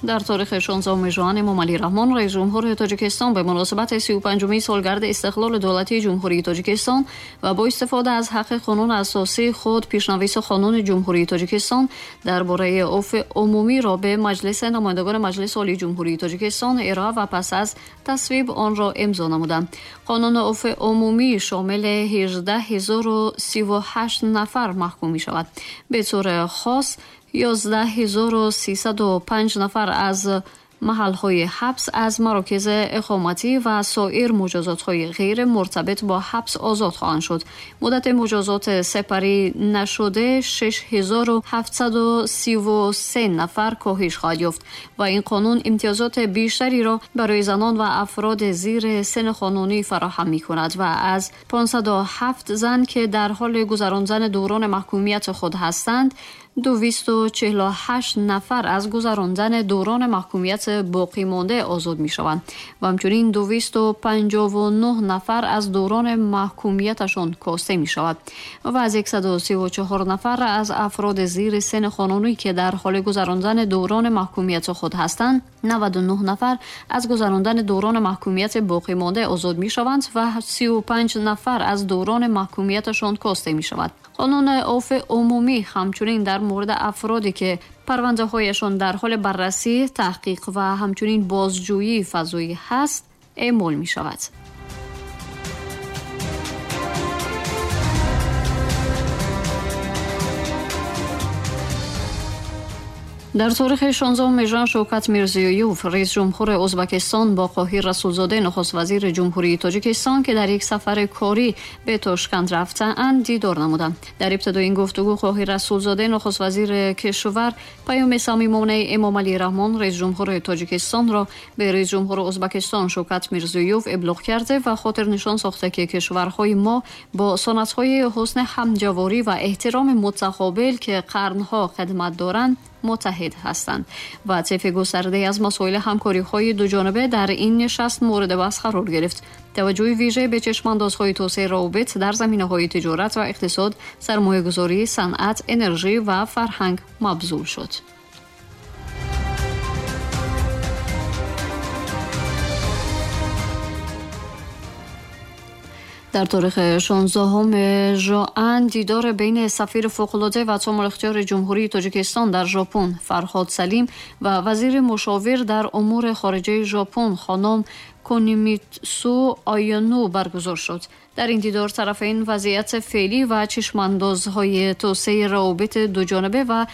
Дар таърихи 16 ژوئن امامعلی رحمان رئیس جمهور تاجیکستان به مناسبت 35مین سالگرد استقلال دولتی جمهوری تاجیکستان و با استفاده از حق قانون اساسی خود پیشنویس قانون جمهوری تاجیکستان درباره عفو عمومی را به مجلس نمایندگان مجلس عالی جمهوری تاجیکستان ارائه و پس از تصویب آن را امضا نمودند. قانون عفو عمومی شامل 18038 نفر محکوم می شود. به طور خاص 11305 نفر از محل‌های حبس از مراکز اقامتی و سایر مجازات‌های غیر مرتبط با حبس آزاد خواهند شد. مدت مجازات سپری نشده 6733 نفر کاهش خواهد یافت و این قانون امتیازات بیشتری را برای زنان و افراد زیر سن قانونی فراهم می‌کند و از 507 زن که در حال گذراندن دوران محکومیت خود هستند 248 نفر از گذراندن دوران محکومیت باقی مانده آزاد می شوند و همچنین 259 نفر از دوران محکومیتشان کاسته می شود و از 134 نفر از افراد زیر سن قانونی که در حال گذراندن دوران محکومیت خود هستند 99 نفر از گذراندن دوران محکومیت باقی مانده آزاد می شوند و 35 نفر از دوران محکومیتشان کاسته می شود. قانون عفو عمومی همچنین در مورد افرادی که پرونده هایشان در حال بررسی، تحقیق و همچنین بازجویی فضایی هست اعمال می شود. Дар таърихи 16 ژوئن Шавкат Мирзиёев, раиси ҷумҳури Ӯзбекистон бо Қоҳир Расулзода, нахуствазири Ҷумҳурии Тоҷикистон, ки дар як сафари корӣ ба Тошканд рафтаанд, дидор намуданд. Дар ибтидои ин гуфтугӯ Қоҳир Расулзода, нахуствазири кишвар, паёми самимонаи Эмомалӣ Раҳмон, раиси ҷумҳури Тоҷикистонро ба раиси ҷумҳури Ӯзбекистон Шавкат Мирзиёев иблоғ карда ва хотирнишон сохта, ки кишварҳои мо бо суннатҳои ҳусни ҳамҷаворӣ ва эҳтироми мутақобил, ки қарнҳо хидмат доранд, муттаҳид ҳастанд ва طیف گسترده‌ای از مسائل همکاری‌های دوجانبه در این نشست مورد بحث قرار گرفت. توجه ویژه به چشم‌اندازهای توسعه روابط در زمینه‌های تجارت و اقتصاد، سرمایه‌گذاری، صنعت، انرژی و فرهنگ مبذول شد. Дар таърихи 16 ژوئن дидор байни сафири фавқулода ва томул-ихтиёри Ҷумҳурии Тоҷикистон дар Жопон Фарҳод Салим ва вазири мушовир дар умури хориҷаи Жопон хонум Кунимитсу Ояно баргузор шуд. Дар ин дидор тарафайн вазъияти феълӣ ва чашмандозҳои توسعه روابط دوجانبه و